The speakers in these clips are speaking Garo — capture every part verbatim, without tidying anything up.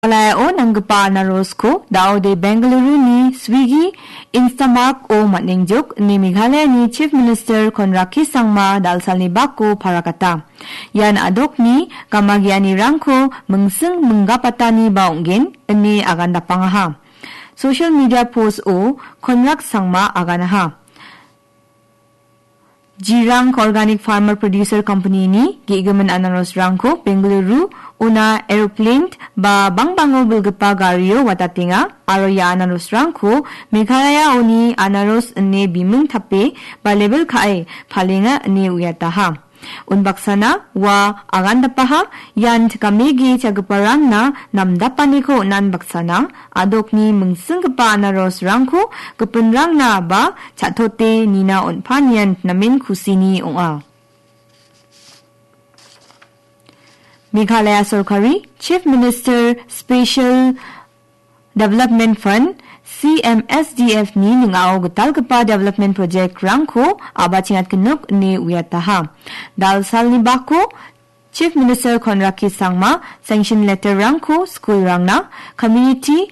Meghalayao nanggipa anarosko daode Bengaluru-ni Swiggy, Instamart-o man·engjok ine Meghalayani Chief Minister Conrad K Sangma dalsalni bako parakata. Ian adokni gamagianirangko mingsing minggapataniba ong·gen ine agandapangaha. Social media post-o Conrad Sangma aganaha. Jirang Organic Farmer Producer Company-ni ge·gimin anarosrangko Bengaluru ona aeroplane ba bangbango bilgipa gario watatenga aro ia anarosrangko Meghalayaoni anaros ine biming tape ba label ka·e palenga ine uiataha. Unbaksana ua agandapaha, ian gamege chagiparangna namdapaniko on·anbaksana, adokni mingsinggipa anarosrangko gipinrangna ba cha·tote nina on·panian namen kusini ong·a. Meghalaya sorkari Chief Minister Special Development Fund, C M S D F-ni ning·ao gitalgipa development project-rangko a·bachengatgenok ine uiataha. Dalsalni bako Chief Minister Conrad K Sangma sanction letter-rangko school-rangna, community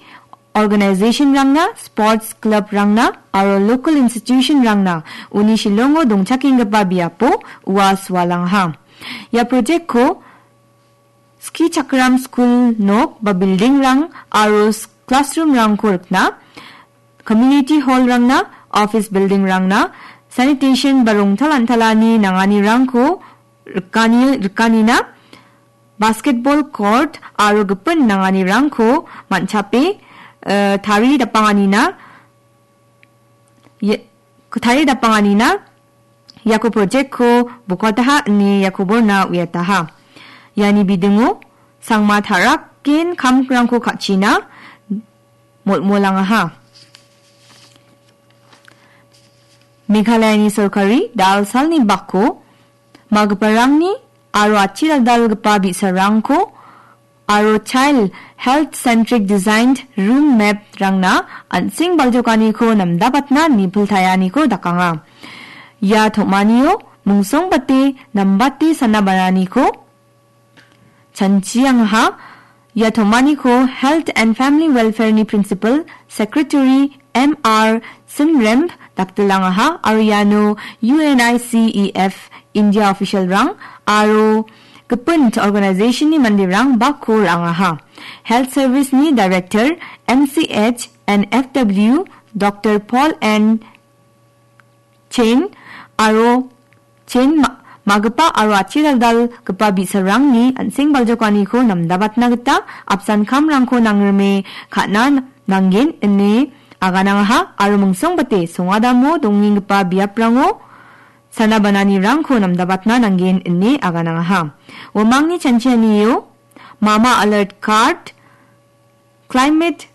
organization-rangna, sports club-rangna aro local institution-rangna uni Shillongo dongchakenggipa biapo ua sualangaha. Ia project-ko skichakram skul nok ba building-rang aro s-, classroom-rangko rikna, community hall-rangna, office building-rangna, sanitation ba rongtal antalani nanganirangko rikani-, rikanina, basketball court aro gipin nanganirangko man·chape, eh, taridapanganina, Ye-, taridapanganina iako project-ko bokataha ine ia koborna uiataha. Iani bidingo sangma taraken kamrangko ka·china molmolangaha. Meghalayani sorkari dalsalni bako magiparangni aro atchi dal·dalgipa bi·sarangko aro child health centric designed room map-rangna an·seng baljokaniko namdabatna nipiltaenganiko dakanga. Ia tom·anio mungsongbate nambate sana bananiko chanchiangaha. Ia tom·aniko Health and Family Welfare-ni Principal Secretary M R Simremp daktilangaha aro iano U N I C E F India official-rang aro gipin organization-ni manderang bako ra·angaha. Health Service-ni Director M C H and F W Doctor Paul N Chen aro Chen ma-, magipa aro atchi dal·dalgipa bi·sarangni an·seng baljokaniko namdabatna gita apsan kamrangko nangrime ka·na nanggen ine aganangaha aro mingsongbate songadamo dongenggipa biaprango sana bananirangko namdabatna nanggen ine aganangaha. Uamangni chanchianio Mama Alert Card, Climate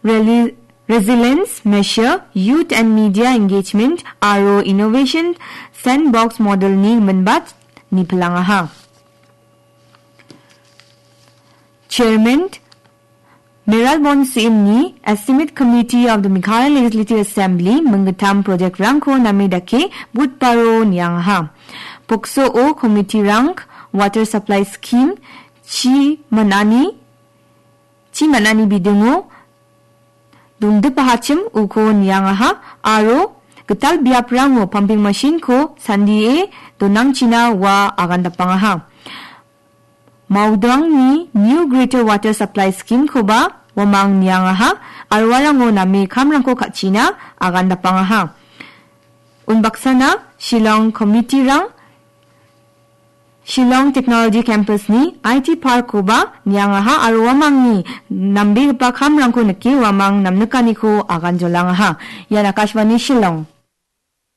Reli-, Resilience Measure, Youth and Media Engagement aro Innovation Sandbox Model-ni minbat nipilangaha. Chairman Mayralborn Syiem-ni Estimate Committee of the Meghalaya Legislative Assembly minggittam project-rangko name dake budbaro niangaha. Pokso-o committee-rang water supply scheme chi man·ani, chi man·ani bidingo dongdipahachim uko niangaha aro gital biaprango pumping machine-ko sandie donangchina ua agandapangaha. Maudangni New Greater Water Supply Scheme-koba uamang niangaha aro uarango name kamrangko ka·china agandapangaha. Unbaksana Shillong committee-rang Shillong Technology Campus-ni I T Park-koba niangaha aro uamangni nambegipa kamrangko nike uamang namnikaniko aganjolangaha. Ian Akashvani Shillong.